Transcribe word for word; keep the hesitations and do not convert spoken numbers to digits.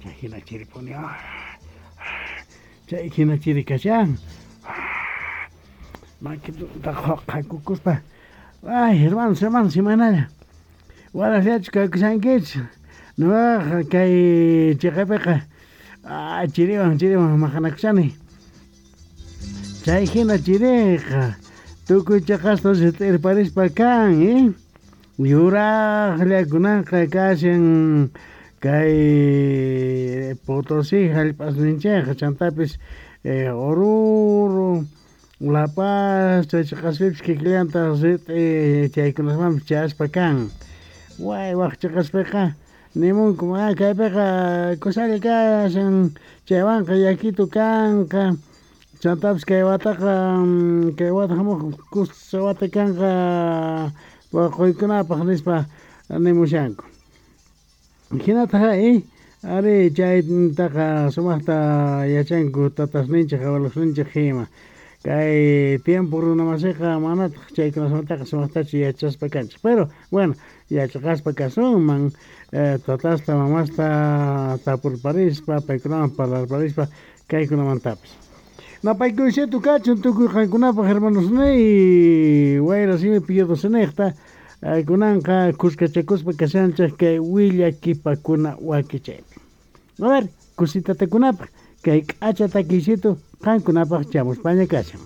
Chay jina chiripuni, chay jina chiri kashan. Makituta qhakukuspa, ay hermanos, hermanos, imaynalla, warasllachu kakushankichis? Nuqaqa kay chiqapiqa chiriwan chiriwan maqanakushani. Chay jina chiriqa tukuy chiqasta t'irparispa kan, eh? Yuraqllakunaqa kashan kay Potosí jallp'asninchikqa, chantapis Oruro, La Paz, chay chiqaspipis kikillantaq rit'i chaykunasmanpis chayaspa kan. Way wak chiqaspiqa nimunku, ah kaypiqa kusalla kashan, chaywanqa yakitu kanqa, chantapis kay wataqa kay wata hamuq kusa wata kanqa poqoykunapaq nispa nimushanku. Hinataq eh ari chaytaqa sumaqta yachanku tatasninchik abuelosninchik ima. Kay tiempo runamasiqa manataq chaykunasmantaqa sumaqtachu yachaspa kanchik. Pero bueno, yachaqaspa kasunman tatasta mamasta tapurparispa paykunawan parlarparispa kaykunamantapis. Napaykuysito kachun tukuy qankunapaq hermanosniy, wayra simipi yudusiniqta kunanqa kuskachakuspa kashanchik kay willakipakuna wakichaypi. A ver, kusitatakunapaq kay k'acha takiysitu qankunapaq chamuspaña kashan.